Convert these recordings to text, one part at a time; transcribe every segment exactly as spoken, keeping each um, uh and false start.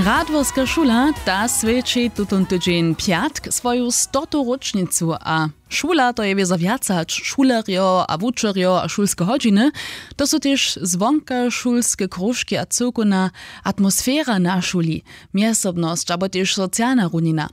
Radworska šula, ta swjeći tutón tydźeń pjatk swoju stotu róčnicu a šula, to je wězo wjac hač šulerjo a wučerjo a šulske hodźiny. To su tež zwonkašulske króžki a cyłkowna atmosfera na šuli, mjezsobnosć abo tež socialna runina.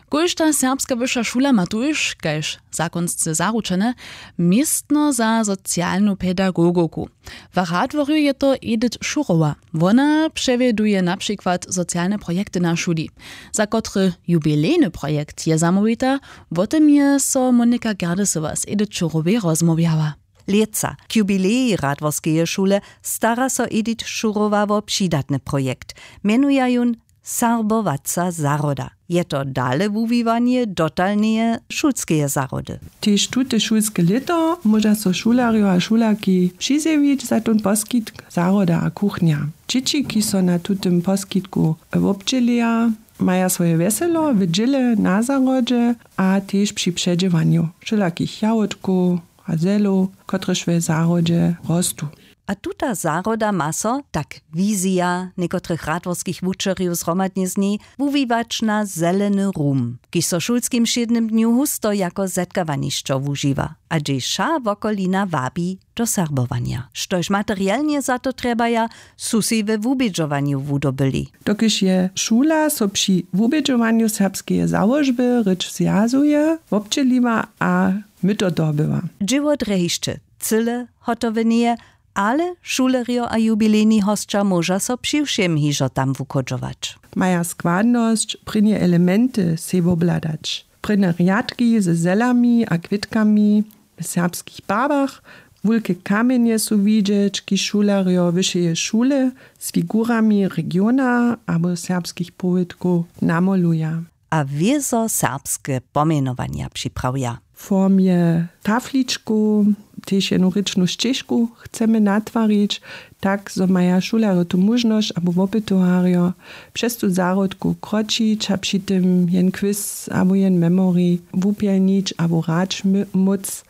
Kóžda serbska wyša šula ma tuž, kaž zakonsce zaručene, městno za socialnu pedagogowku. W Radworju je to Edith Šurowa. Wona přewjeduje na přikład socialne projekty na šuli. Za kotry jubilejny projekt je zamołwita, wo tym je so Monika Gerdesowa z Edith Šurowej rozmołwjała. Lětsa k jubilejej Radworskeje šule stara so Edith Šurowa wo přidatny projekt. Mjenuja jón Serbowaca zahroda. Je to dale wuwiwanje dotalneje šulskeje zahrody. Tež tute šulske lěto móža so šulerjo a šulerki přizjewić za tón poskitk zahroda a kuchnja. Dźěći, kiž so na tutym poskitku wobdźěleja, maja swoje wjeselo w dźěle na zahrodźe a tež při předźěwanju wšelakich jahódkow a zelow, kotrež w zahrodźe rostu. A tuta zahroda ma so, tak wizija někotrych radworskich wučerjow zhromadnje z njej, wuwiwać na zeleny rum, kiž so w šulskim wšědnym dnju husto jako zetkawanišćo wužiwa a hdźež wša wokolina wabi do serbowanja. Štož materialnje za to trjebaja, su sej we wubědźowanju wudobyli. Dokelž je šula so při wubědźowanju serbskeje załožby rěč zwjazuje, wobdźěliła a myto dobyła. Dźěło drje hišće cyle hotoweneje, ale šulerjo a jubilejni hosća móža so přiwšěm hižo tam wuchodźować. Maja składnosć prěnje elementy sej wobhladać. Prěnje rjadki ze zelami a kwětkami w serbskich barwach, wulke kamjenje su widźeć, kiž šulerjo wyšeje šule z figurami regiona abo serbskich powědkow namoluja. A wězo serbske pomjenowanja připravja. W formje tafličkow tež jednu rěčnu šćežku chcemy natwarić, tak zo maja šulerjo tu móžnosć abo wopytowarjo přez tu zahrodku kročić a při tym jen quiz abo jen memory wupjelnić abo hrać móc.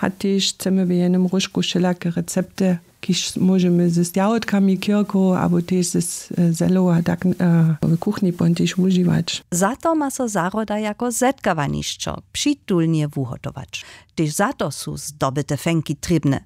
A tež chcemy w jenym róžku wšelake recepty, kiž móžemy z jahódkami kirkow abo tež z zelow a tak w kuchni pon tež wužiwać. Za to ma so zahroda jako zetkawanišćo přitulnje wuhotować. Tež za to su zdobyte fenki trěbne,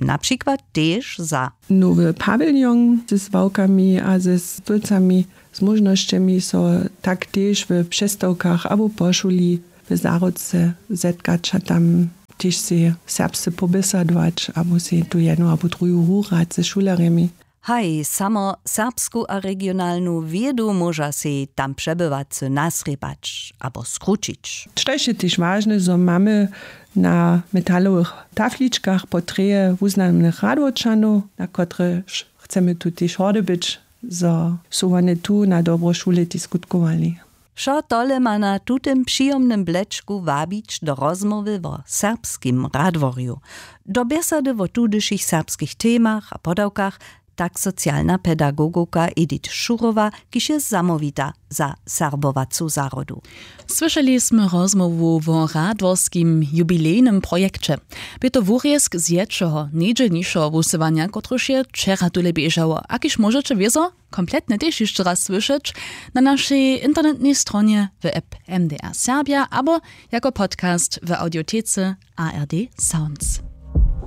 na přikład tež za nowy pawiljon z ławkami a z stólcami, z móžnosćemi so tak tež w přestawkach abo po šuli w zahrodce zetkać a tam tež sej serbsce poběsadować abo sej tu jednu abo druju hurać ze šulerjemi. Haj, samo serbsku a regionalnu wědu móža sej tam přebywacy nasrěpać abo skrućić. Štož je tež wažne, zo mamy na metalowych tafličkach portreje wuznamnych Radworčanow, na kotrež chcemy tu tež hordy być, zo su wone tu na dobro šule tež skutkowali. Wšo tole ma na tutym přijomnym blečku wabić do rozmołwy wo serbskim Radworju, do bjesady wo tudyšich serbskich temach a podawkach, tak socialna pedagogowka Edith Šurowa, kiž je zamołwita za serbowacu zahrodu. Słyšeli smy rozmołwu wo radworskim jubilejnym projekće. Bě to wurězk z ječeho nejdźelnišeho wusyłanja, kotrež je wčera tule běžało a kiž móžeće wězo kompletnje tež hišće raz słyšeć na našej internetnej stronje, w app M D R Serbja abo jako podcast w audiotece A R D Sounds.